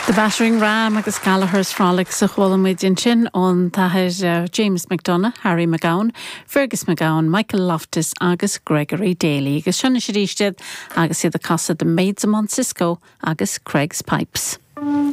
The Battering Ram agus Gallagher's Frolics a chuala muid ansin ón tAthair James McDonagh, Harry McGowan, Fergus McGowan, Michael Loftus agus Gregory Daly. Agus seo anois arís iad agus iad ag casadh The Maids of Mount Cisco agus Creggs Pipes.